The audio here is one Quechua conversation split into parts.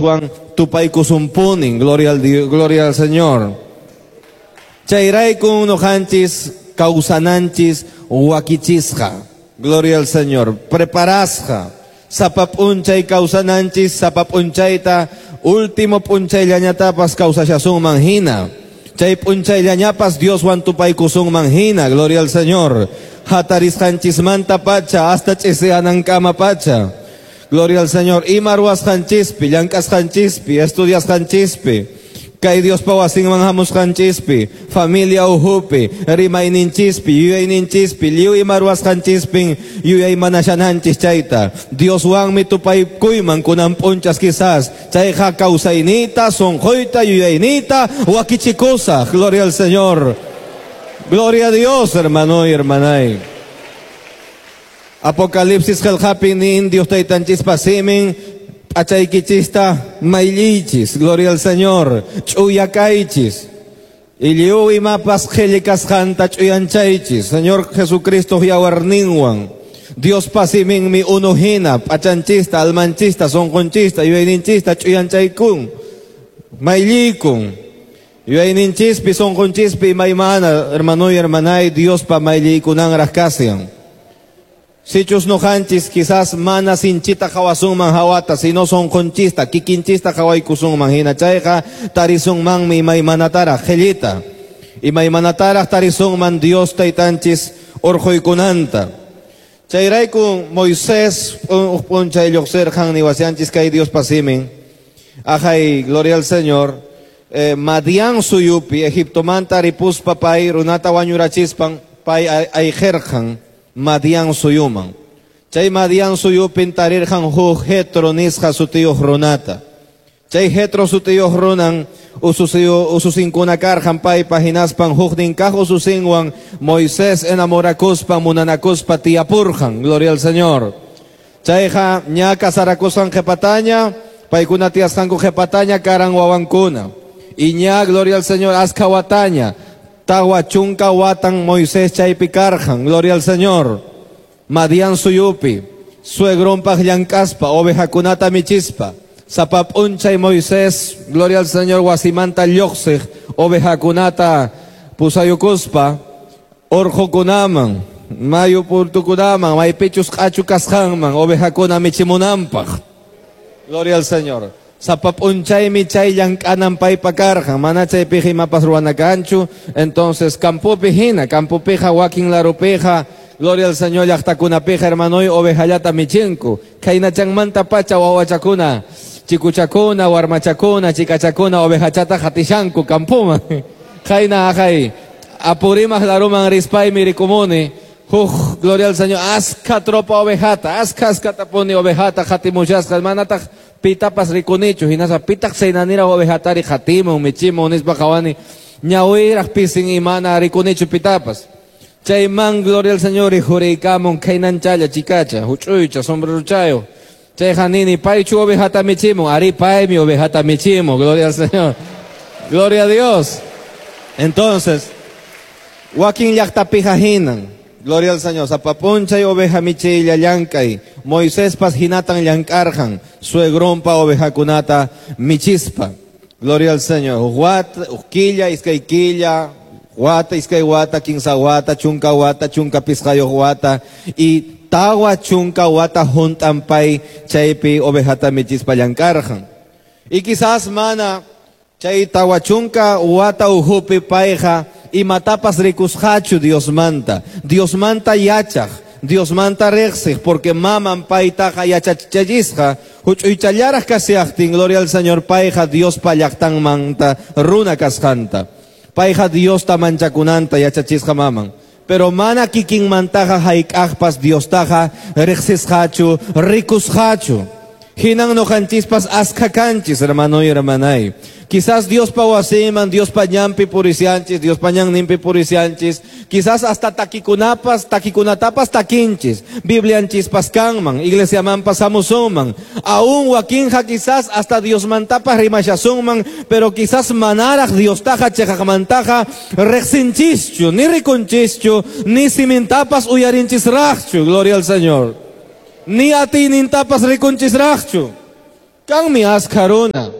Dioswan tupaykusunpunin. Gloria al Dios, gloria al Señor. Chayraykun noqanchis kawsananchis wakichisqa. Gloria al Señor. Preparasqa. Sapa p'unchay kawsananchis, sapa p'unchayta último p'unchayllañatapas kawsashasunman hina. Chay p'unchayllañapas Dioswan tupaykusunman hina. Gloria al Señor. Hatarisqanchismanta pacha hasta ch'isiyanankama pacha. Gloria al Señor. Ima ruwasqanchispi, llank'asqanchispi, estudiasqanchispi, kay Diospa wasinman hamusqanchispi, familia uhupi, rimayninchispi, yuyayninchispi, lliw ima ruwasqanchispin yuyaymanashananchis chayta. Dioswanmi tupaykuyman kunan p'unchas quizás chayqa kawsayniyta, sunquyta, yuyayniyta wakichikusaq. Gloria al Señor. Gloria a Dios, hermano y hermanay. Apocalipsis qillqapi nin Dios taytanchispa simin p'achaykichista maylliychis. Gloria al Señor. Ch'uya kaychis. Y lliw imapas qhilli kasqanta ch'uyanchaychis. Señor Jesucristo yawarninwan. Diospa siminmi unu hina p'achanchista, almanchista, sunqunchista, yuyayninchista ch'uyanchaykun. Maylliykun. Yuyayninchispi, sunqunchispi imaymana, hermano y hermanay, Diospa mayllaykunanraq kashan. Sichus noqanchis quizás mana sinchita qhawasunman hawata, sino sunqunchista, kikinchista qhawaykusunman hina chayqa tarisunmanmi imaymanataraq qhillita. Imaymanataraq tarisunman Dios taytanchis urquykunanta. Chayrayku Moisés uj p'unchay lluqsirqan niwasyanchis kay Diospa simin. Ajay, gloria al Señor. Madian suyupi, Egiptomanta ripuspa pay runata wañurachispan pay ayqirqan Madian suyuman. Chay Madian suyupin tarirqan huk Jetro nisqa sutiyuq runata. Chay Jetro sutiyuq runan ususinkuna karqan paypa hinaspan huknin kaq ususinwan Moisés enamorakuspa munanakuspa tiyapurqan. Gloria al Señor. Chayqa ña kasarakusqan qhipataña, paykuna tiyasqanku qhipataña karan wawankuna. Y ña, gloria al Señor, askha wataña, tawa chunka watan Moisés chaypi karqan. Gloria al Señor. Madian suyupi, suegronpaq llank'aspa, ovejakunata michispa. Sapa p'unchay Moisés, gloria al Señor, wasimanta lluqsiq, ovejakunata pusayukuspa, urqukunaman, mayu purtukunaman, maypichus q'achu kasqanman, ovejakuna michimunanpaq. Gloria al Señor. Sapa p'unchaymi chay llank'anan paypa karqan, mana chaypiqa imapas ruwana kanchu. Entonces campopi hina, campopiqa wakin larupiqa, gloria al Señor, llaqtakunapiqa, hermanoy, ovejallata michinku. Khaynachanmanta pacha wawachakuna, chikuchakuna, warmachakuna, chikachakuna, ovejachata qatishanku campoman. Khayna ajay, Apurímac laruman rispaymi rikumuni, huk, gloria al Señor, askha tropa ovejata, askha askhatapuni ovejata qatimushasqa, manataq pitapas rikunichu, hinaspa pitaq saynaniraq ovejatari qatimun, michimun, nispa qhawani, ñawiraq pisin imana rikunichu pitapas. Chayman, gloria al Señor, rikhuriykamun khaynanchalla chikacha, huch'uycha, sombreruchayo. Chayqa nini, paychu ovejata michimun, ari paymi ovejata michimun, gloria al Señor. Gloria a Dios. Entonces, wakin llaqtapiqa hinan, gloria al Señor, sapa p'unchay oveja michiylla llank'ay, Moisespas hinatan llank'arqan, suegronpa ovejakunata michispa. Gloria al Señor. Huk wata, huk killa, iskay killa, wata, iskay wata, kinsa wata, chunka wata, chunka pisqayuq wata, y tawa chunka wata hunt'an pay chaypi ovejata michispa llank'arqan. Y quizás mana chay tawa chunka wata uhupi payqa imatapas rikusqachu Diosmanta. Diosmanta yachaq, Diosmanta riqsiq, porque maman paytaqa yachachisqa, huch'uychallaraq kasiaqtin, gloria al Señor, payqa Diospa llaqtanmanta runa kasqanta. Payqa Diosta manchakunanta yachachisqa maman. Pero mana kikinmantaqa hayk'aqpas Diostaqa riqsisqachu, rikusqachu. Hinan noqanchispas askha kanchis, hermano y hermanay. Quizás Diospa wasiman, Diospa ñanpi purisianchis, Diospa ñanninpi purisianchis. Quizás hasta takikunapas, takikunatapas takinchis. Biblianchispas kanman, iglesiamanpas hamusunman. Aún wakinqa quizás hasta Diosmantapas rimashasunman, pero quizás manaraq Diostaqa chiqaqmantaqa riqsinchischu, ni rikunchischu, ni simintapas uyarinchisraqchu. Gloria al Señor. Ni atiynintapas rikunchisraqchu. Kanmi askha runa.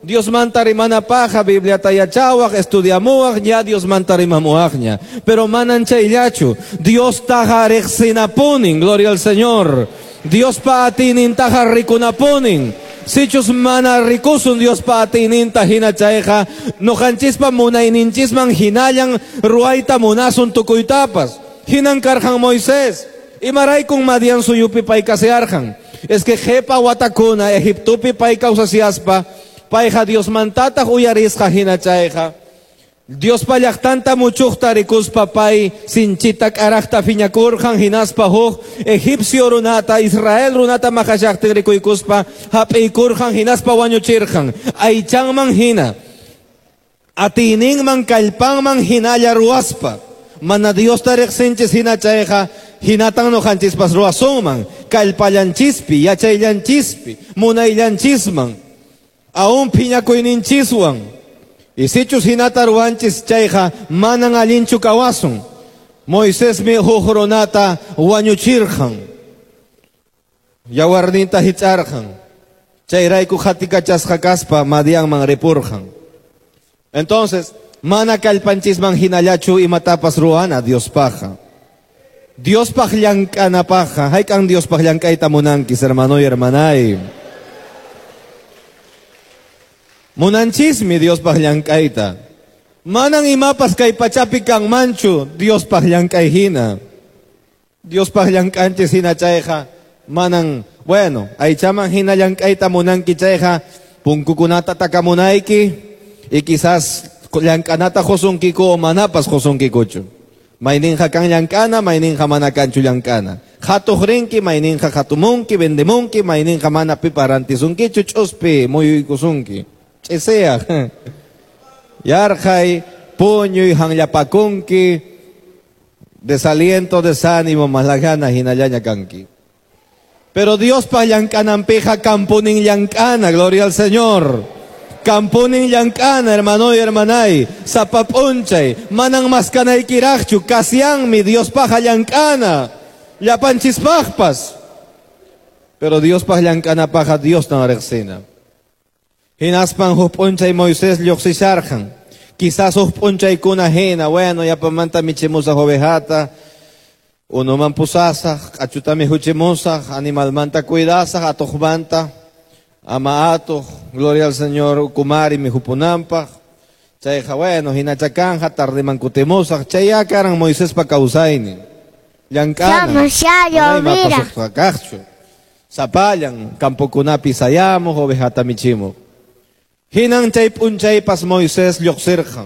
Diosmanta rimanapaqa Bibliata yachawaq, estudiamuwaq, ña Diosmanta rimamuwaqña. Pero manan chayllachu. Diostaqa riqsinapunin, gloria al Señor. Diospa atiynintaqa rikunapunin. Sichus mana rikusun Diospa atiyninta hina chayqa, nuqanchispa munayninchisman hinallan ruwayta munasun tukuytapas. Hinan karqan Moisés. Imaraykun Madian suyupi pay kasharqan. Es que qhipa watakuna Egiptopi pay kawsashaspa, payqa Diosmantataq uyarisqa hina chayqa. Diospa llaqtanta muchuqta rikuspa pay sinchita k'araqta phiñakurqan hinaspa huk egipcio runata Israel runata maqashaqtin rikuykuspa hap'iykurqan hinaspa wañuchirqan aychanman hina atiyninman kallpanman hinalla ruwaspa. Mana Diosta riqsinchis hina chayqa hinatan nuqanchispas ruwasunman kallpallanchispi yachayllanchishpi munayllanchisman aún phiñakuyninchiswan. Y sichus hinata ruwanchis chayqa manan allinchu kawasun. Moisesmi huk runata wañuchirqan. Yawarninta hich'arqan. Chayrayku qatikachasqa kaspa Madianman ripurqan. Entonces, mana kallpanchisman hinallachu imatapas ruwana Diospaqqa. Diospaq llank'anapaqqa, hayk'an Diospaq llank'ayta munankis, hermano y hermanay. Munanchismi Diospaq llank'ayta. Manan imapas kay pachapi kanmanchu Diospaq llank'ay hina. Diospaq llank'anchis hina chayqa manan, bueno, aychaman hina llank'ayta munanki chayqa punkukunata takamunayki y quizás llank'anata qusunkiku o manapas qusunkikuchu. Mayninqa kan llank'ana, mayninqa mana kanchu llank'ana. Qhatuq rinki, mayninqa qhatumunki, vendemunki, mayninqa mana pipa rantisunkichu, ch'uspi muyuykusunki. Ch'isiyaq. Yarqhay, puñuy, hanllapakunki, desaliento, desánimo, malagana, hinallaña kanki. Pero Diospa llank'ananpiqa kampunin llank'ana, gloria al Señor. Kampunin llank'ana, hermano y hermanay. Sapa p'unchay, manan maskanaykiraqchu, kasyanmi Diospaqa llank'ana. Llapanchispaqpas. Pero Diospaq llank'anapaqa Diostan riqsina. Hinaspan huk p'unchay Moisés lluqsisharqan. Quizás huk p'unchaykuna hina, bueno, yapamanta michimusaq ovejata, unuman pusasaq, q'achutami huchimusaq, animalmanta cuidasaq, atuqmanta, ama atuq, gloria al Señor, ukumari mihupunanpaq. Chayqa, bueno, hinachakanja, tardeman kutimusaq, chayya karan Moisespa kawsaynin. Llank'ana. Sapallan, campokunapi sayamuq, ovejata michimuq. Hinan chay p'unchaypas Moisés lluqsirqan.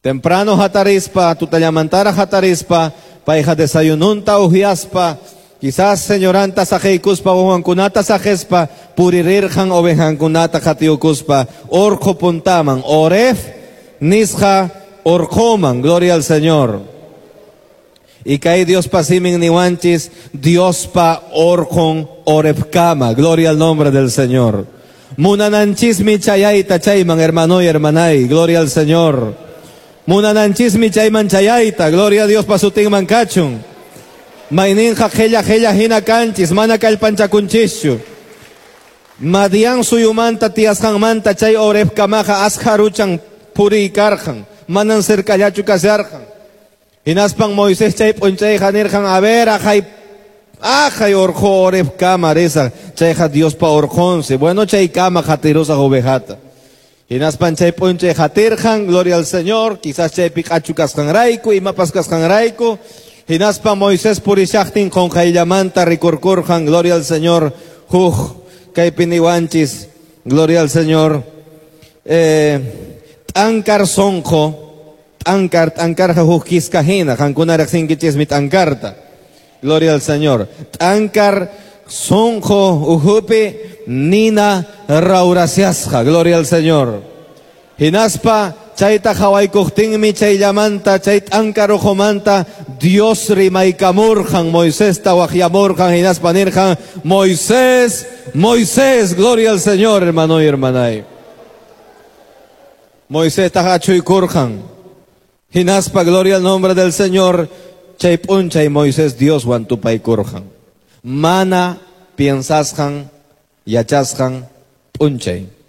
Temprano hatarispa, tutallamantara hatarispa, payqa desayununta uhyaspa, quizás señoranta saqiykuspa, wawankunata saqispa, puririrqan ovejankunata qatiyukuspa, urqu puntaman, Oref nisqa urquman, gloria al Señor. Y kay Diospa simin niwanchis, Diospa urqun Orefkama, gloria al nombre del Señor. Munananchismi chayayta chayman, hermano y hermanay, gloria al Señor. Munananchismi chayman chayayta, gloria a Dios pa sutinman kachun. Mayninqa qhella qhella hina kanchis, mana kallpanchakunchischu. Madian suyumanta tiyasqanmanta chay Orefkamaqa askharuchan puriykarqan, manan cercallachu kasharqan. Hinaspan Moisés chay p'unchayqa nirqan, a ver, ajay urqu Orefkama risaq, chayqa Diospa urqunsi. Bueno, chaykama qatirusaq ovejata. Hinaspan chay p'unchay qatirqan, gloria al Señor, quizás chaypi q'achu kasqanrayku, imapas kasqanrayku. Hinaspa Moisés purishaqtin qunqayllamanta rikurkurqan, gloria al Señor, huk kaypi niwanchis, gloria al Señor. T'ankar sonqo, t'ankar, t'ankarqa huk kiska hina, qankuna riqsinkichismi t'ankarta. Gloria al Señor. T'ankar sonqo uhupi nina rawrasiasqa, gloria al Señor. Hinaspa chayta qhawaykuqtinmi chayllamanta, chay t'ankar ukhumanta Dios rimaykamurqan, Moisesta waqyamurqan, hinaspa nirqan, Moisés, Moisés, gloria al Señor, hermano y hermanay. Moisés achuykurqan. Hinaspa, gloria al nombre del Señor, chay p'unchay Moisés Dioswan tupaykurqan. Mana piensasqan, yachasqan, p'unchay.